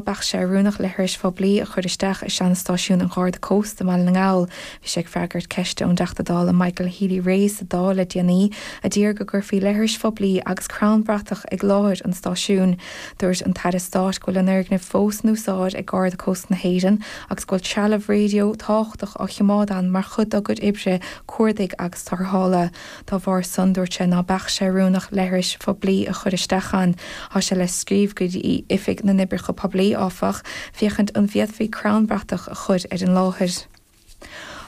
Beadh sé oiriúnach leithris phoiblí a chur isteach i seanstáisiún an Gharda Cósta i mBaile na nGall. Bhí sé ag freagairt ceiste ón dTeachta Dála Michael Healy-Rae sa Dáil le déanaí a d'iarr go gcuirfí leithris phoiblí agus crann bratach ag láthair an stáisiúin. Dúirt an tAire Stáit go bhfuil an fhoirgneamh fós in úsáid ag Garda Cósta na hÉireann agus go bhfuil trealamh raidió tábhachtach á choimeád ann mar chuid dá gcuid oibre cuardaigh agus tarrthála. Dá bharr san, dúirt sé ná beadh sé oiriúnach leithris phoiblí a chur isteach ann. Tá sé le scríobh go dtí Oifig na nOibreacha Poiblí, áfach, féachaint an bhféadfaí crann bratach a chur ar an láthair.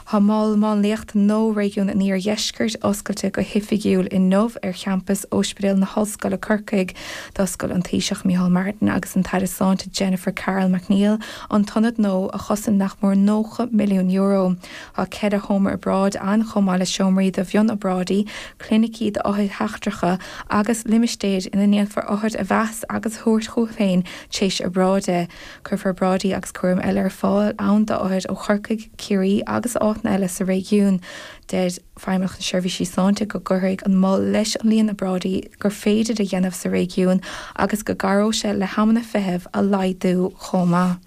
Tá Mol Máinliachta nua Réigiún an Iardheiscirt oscailte go hoifigiúil inniu ar champas Ospidéal na hOllscoile Corcaigh. D'oscail an Taoiseach Micheál Martin agus an tAire Sláinte Jennifer Carroll MacNeill an t-ionad nua a chosain nach mór €90 milliún. Tá 4 sheomra obráide ann chomh maith le seomraí do mhionobráidí, clinicí d'othair sheachtracha agus limistéir ina ndéanfar othair a mheas agus a thabhairt chucu féin tar éis obráide. Cuirfear obráidí agus cúram eile ar fáil ann d'othair ó Chorcaigh, Ciarraí agus áiteanna eile sa réigiún. Deir Feidhmeannacht na Seirbhísí Sláinte go gcuirfidh an mol leis an líon obráidí gur féidir a dhéanamh sa réigiún agus go gcabhróidh sé le hamanna feithimh a laghdú chomh maith.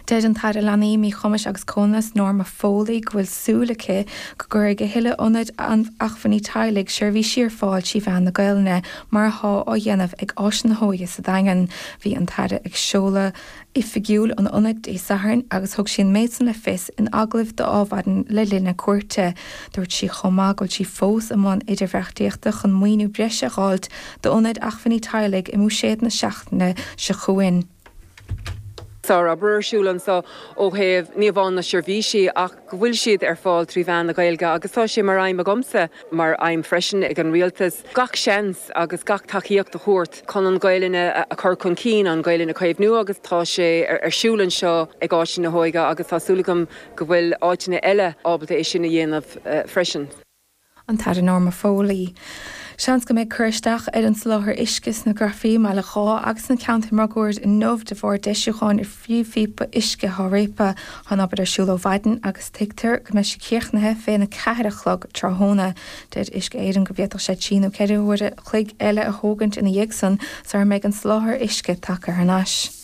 Deir an tAire Leanaí, Míchumais agus Comhionannais Norma Foley go bhfuil súil aici go gcuirfidh a thuilleadh ionaid acmhainní teaghlaigh seirbhísí ar fáil trí mheán na Gaelainne mar atá á dhéanamh ag Áis na hÓige sa Daingean. Bhí an tAire ag seoladh oifigiúil an ionaid Dé Sathairn agus thug sí an méid san le fios in agallamh d'Adhmhaidin le linn a cuairte. Dúirt sí chomh maith go bhfuil sí fós i mbun idirbheartaíochta chun maoiniú breise a dh'fháilt d'ionaid acmhainní teaghlaigh i mBuiséad na seachtaine seo chugainn. Sár-obair ar siúl anseo ó thaobh ní amháin na seirbhísí ach go bhfuil siad ar fáil trí mheán na Gaeilge agus tá sé mar aidhm agamsa, mar aidhm freisin ag an Rialtas, gach seans agus gach tacaíocht a thabhairt chun an Ghaelainn a chur chun cinn, an Ghaelainn a chaomhnú agus tá sé ar siúl anseo ag Áiseanna na hÓige agus tá súil agam go bhfuil áiteanna eile ábalta é sin a dhéanamh freisin. An tAire Norma Foley. Seans go mbeidh cur isteach ar an soláthar uisce sna Grafaí i mBaile Dháith agus sna ceantair máguaird inniu de bharr deisiúcháin ar phríomhphíopa uisce atá réabtha. Tá an obair ar siúl ó mhaidin agus tuigtear go mbeidh sí críochnaithe féna 4 a chlog tráthnóna. Deir Uisce Éireann go bhféadfadh sé 3 nó 4 huaire a chloig eile a thógaint ina dhiaidh san sara mbeidh an soláthar uisce tagtha thar n-ais.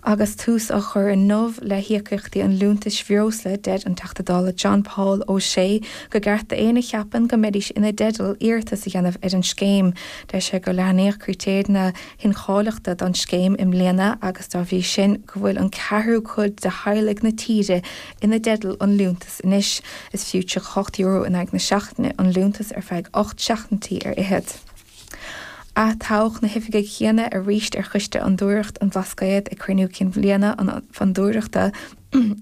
Agus tús á chur inniu le híocaíochtaí an liúntais bhreosla, deir an Teachta Dála John Paul O'Shea gur ceart d'éinne a cheapann go mbeidís ina dteideal iarratas a dhéanamh ar an scéim. Deir sé gur leathnaíodh critéir na hincháilitheachta don scéim i mbliana agus dá bhrí sin go bhfuil an ceathrú cuid de theaghlaigh na tíre ina dteideal an liúntas anois. Is fiú €38 in aghaidh na seachtaine an liúntas ar feadh 18 seachtaintí ar fhichead. Atoghadh na hoifigigh chéanna arís ar Choiste Fhondúireacht an Bhlascaoid ag cruinniú cinn bhliana an Fhondúireachta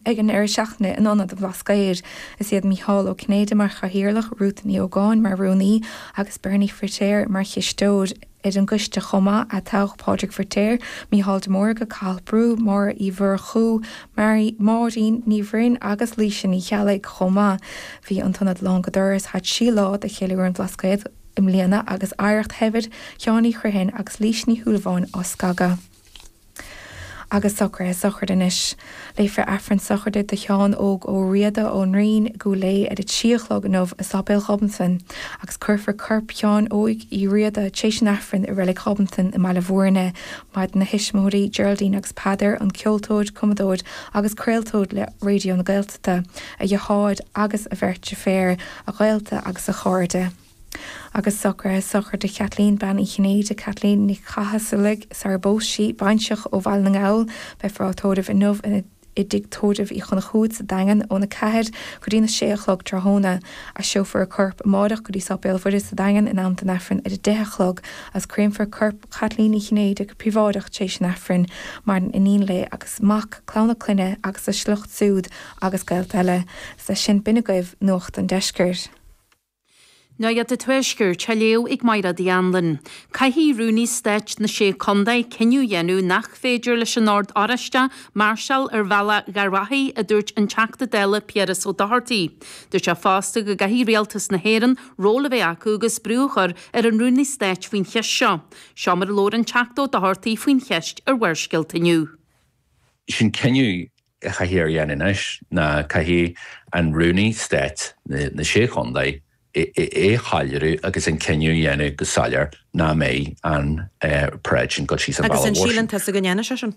ag an ndeireadh seachtaine in Ionad an Bhlascaoid. Is iad Mícheál Ó Cinnéide mar chathaoirleach, Ruth Ní Ógáin mar rúnaí agus Bernie Firtéar mar chisteoir. Ar an gcoiste chomh maith, atoghadh Pádraig Firtéar, Mícheál de Mórdha, Cathal Brú, Máire Uí Mhurchú, Máirín Ní Bhroin agus Laoise Ní Cheallaigh chomh maith. Bhí an t-ionad lán go doras thar thrí lá de cheiliúradh an Bhlascaoid. i mbliana agus oidhreacht shaibhir Sheáin Uí Chriomhthain agus Laoise Ní Shúilleabháin á scagadh. Agus socruithe sochraide anois. Léifear Aifreann sochraide do Sheán Óg Ó Riada ón Rinn i gCúil Aodha ar a 3 a chlog inniu i Sáipéal Ghobnatan agus cuirfear corp Sheáin Óig Uí Riada tar éis an Aifrinn i Reilig Ghobnatan i mBaile Bhúirne. Maireann a thuismitheoirí Geraldine agus Peadar, an ceoltóir, cumadóir agus craoltóir le Raidió na Gaeltachta, a dheartháir agus a bheirt deirféar, a ghaolta agus a chairde. Agus socruithe sochraide Chaitlín, Bean Uí Chinnéide, Caitlín Nic Chathasaigh, sar bpós sí, baintreach ó Bhaile na nGall, beifear á tórramh inniu i dTigh Tórraimh Uí Chonchúir sa Daingean óna 4 go dtína 6 a chlog tráthnóna. Aistreofar a corp amáireach go dtí Sáipéal Mhuire sa Daingean in am don Aifreann ar a 10 a chlog agus créamfar corp Chaitlín Uí Chinnéide go príobháideach tar éis an Aifrinn. Maireann iníon léi agus mac, clann a clainne agus a sliocht siúd agus gaolta eile. Is leis sin b'in agaibh Nuacht an Deiscirt. Nuacht an Tuaiscirt á léamh ag Mairéad Uí Anluain. Caithfidh Rúnaí Stáit na Sé Contae cinneadh a dhéanamh nach féidir leis an Ord Oráisteach máirseáil ar bhealach Gharbhachaidh, a dúirt an Teachta Dála Piaras Ó Dochartaigh. Dúirt sé fosta go gcaithfidh Rialtas na hÉireann ról a bheith acu agus brú a chur ar an Rúnaí Stáit faoin cheist seo. Seo mar a labhair an Teachta Ó Dochartaigh faoin cheist ar Bharrscéalta inniu. Sin cinneadh a chaithfear a dhéanamh anois ná caithfidh an Rúnaí Stáit na Sé Chontae. É a shoiléiriú agus an cinneadh a dhéanamh go soiléir nach mbeidh an paráid sin ag dul síos an Agus bealach an mhór sin. síleann tusa go ndéanfaidh sé sin?